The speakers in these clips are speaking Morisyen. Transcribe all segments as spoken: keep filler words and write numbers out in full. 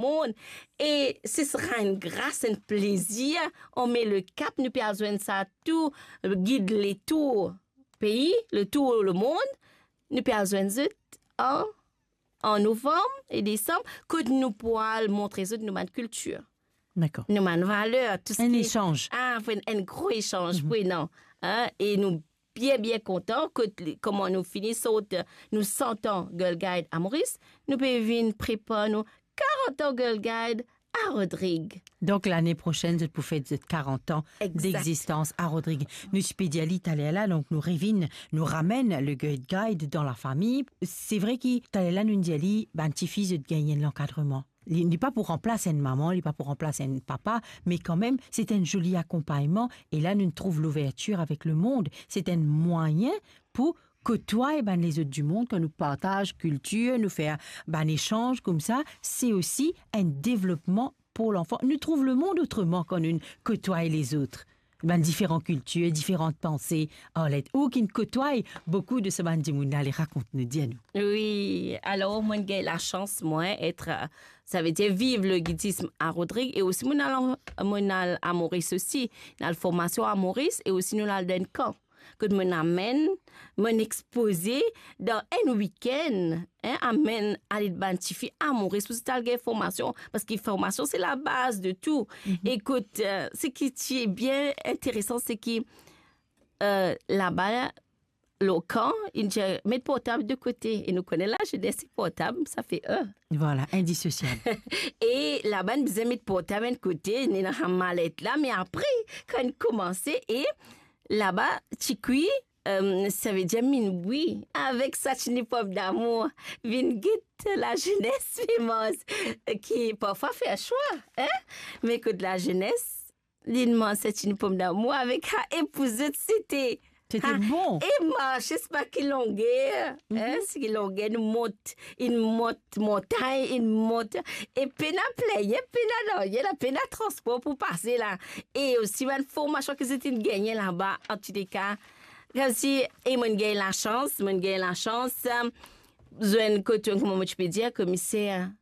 mond. E se sera enn gras, enn plezir. On met le cap, nou pe al zwenn sa tou, gid letour pei, letour lemond. Nou pe al zwenn zot an, an novam e desam, kot nou pou al montre zot nou bann kiltir, Dakor. nou bann valer, tou Enn seki esanz. Ah, pou enn, enn gro esanz, Mhm. pou enn an, hein, e nou bien, bien kontan kot li, kouma nou fini sort, nou san an Girl Guide a Moris, nou pe vinn prepar nou karant an Girl Guide a Rodrig. Donk, lane prosenn, zot pou fet zot karant an Exact. degzistans a Rodrig. Nou ti pe dir li taler la, donk nou revinn, nou ramenn le Girl Guide dan lafami. Se vre ki taler la, nou dir li, bann tifi, zot gagn enn lankadreman. Li, li pa pou ranplas enn mama, li pa pou ranplas enn papa, me kanmem, se enn zoli akonpagnman. E la, nou trouv louvertir avek lemond. Se enn mwayin pou kotway bann lezot dimoun, kan nou partaz kiltir, nou fer bann esanz koumsa, se osi enn devlopman pou lanfan. Nou trouv lemond otreman kan nou kotway lezot. Bann diferan kiltir, diferan panse, Arlette. Ou ki'nn kotway boukou de sa bann dimoun la, ale rakont nou, dir nou. Wi, alor, mo'nn gagn lasans, mwa, et, euh, savedir viv le guidisme a Rodrig, e osi mo'nn al, mo'nn al a Moris osi, mo'nn al formasion a Moris, e osi nou al dan enn kan. Kot mo'nn amenn, mo'nn expoze dan enn wikenn, hein, amenn ale bann tifi a Moris pou zot al gagn formasion, parski formasion se labaz de tou. Mhm. E kot, euh, seki ti bien interesan, seki, euh, laba, lor kan, inn dir, met portab de kote. E nou kone lazenes, portab, sa fer, euh. Vwala, indisosiab. E laba, inn bizin met portab enn kote, ena sa malet la, me apre, kan inn koumanse, e laba, ti kwi, euh, savedir minwi, avek sa ti ena pom damour, vinn get lazenes pe manz, ki parfwa fer swa, hein? Me kot lazenes, li'nn manz sa ti ena pom damour avek sa, e pou zot, sete, Sete ha, bon. E marse, se pa ki longer, hein, Mhm. se ki longer, nou mont, inn mont montagn, inn mont, e pena plin, pena nanye la, pena transpor pou pase la. E osi bann formasion ki zot inn gagne laba, antouleka, koumsi, e mo'nn gagn lasans, mo'nn gagn lasans, euh, zwenn kot, kouma mo ti pe dir, komiser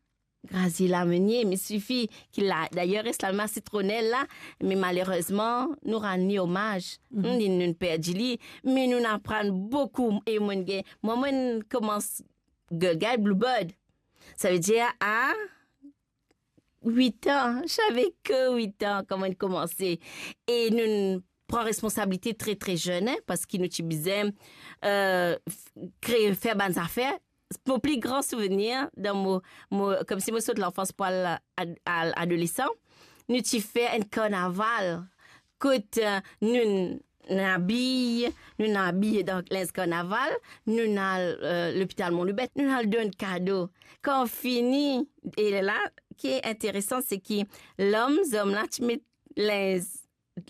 Graziela Meunier, me tifi ki la, dayer res la mem a Sitronel la, me malerezman, nou rann li omaz. Mhm. Hmm, li, nou perdi li, me nou aprann boukou, e mo'nn gagn, mwa, mo'nn koumans Girl Guide Bluebird. Savedir a wit an, zave ke wit an, kan mo'nn koumanse. E nou pran responsabilite tre, tre zenn, hein, parski nou ti bizin, euh, f-, kre, fer bann zafer. Mo pli gran souvenir dan mo, mo, koumsi mo sot lanfans pou al ad-, al adolesan, nou ti fer enn karnaval kot, euh, nou, nou abiy, nou abiy dan linz karnaval, nou al, euh, lopital Mont Loubert, nou al donn kado. Kan fini, e la, ki interesan, se ki lom, zom la ti met linz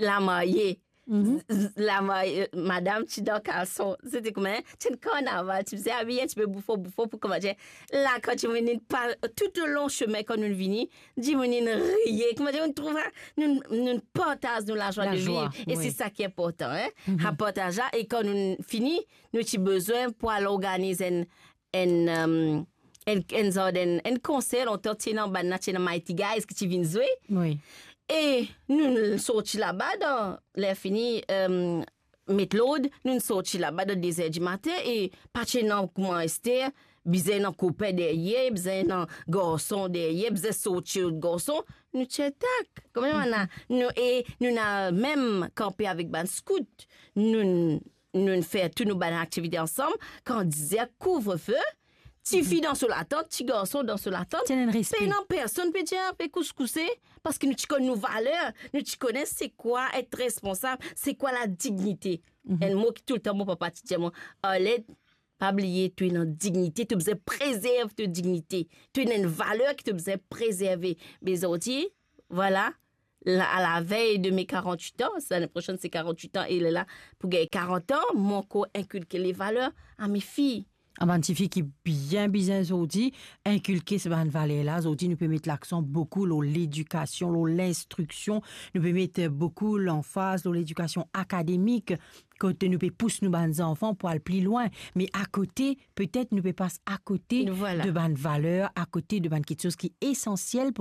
lamarye. Mhm. Z-, z-, lamarye, madam ti dan kalson. Sete kouma, hein, ti enn karnaval, ti bizin abiye enn tipe boufon, boufon pou kouma, ti, la, kan ti vini pa, toulong semin, kan nou vini, dimoun inn riye, kouma dir, nou trouv, hein, nou, nou partaz nou lazwa de viv. Lazwa, wi. E se sa ki inportan, hein. Mhm. Sa partaz la, e kan nou fini, nou ti bizin pou al organiz enn, enn, euh, enn, enn zardin, enn konser, lontan ti ena bann la, ti ena Mighty Guys ki ti vinn zwe. Wi. E nou, nou sorti laba dan, ler fini, euh, met lord, nou sorti laba dan de zer dimatin e pa ti ena kouma ester, bizin ena kopin deryer, bizin ena garson deryer, bizin sorti lot garson, nou ti atak. Kouma nou, nou, e nou ena mem kanpe avek bann skout. Nou, nou fer tou nou bann aktivite ansam, kan dizer kouvrefe, tifi dan so latant, ti garson dan so latant, Ti ena enn respe. Pena personn pe dir, pe kous kouse, parski nou ti konn nou valer, nou ti kone se kwa et responsab, se kwa ladignite. Mhm. Enn mo ki toultan mo papa ti dir mwa, Arlette, pa bliye, to ena dignite, to bizin prezerv to dignite. To ena enn valer ki to bizin prezerve. Me zordi, vwala, la, a la vey de me karant-wit an, lane prosenn se karant-wit an, e lerla pou gagn karant an, mo ankor inkilke le valer a me fiy. Bann tifi ki bien bizin zordi inkilke sa bann valer la. Zordi nou pe met laksan boukou lor ledikasion, lor linstriksion. Nou pe met boukou lanfaz lor ledikasion akademik, kot nou pe pous nou bann zanfan pou al pli lwin. Me akote, petet nou pe pas akote de bann valer, akote de bann kiksoz ki esansiel pou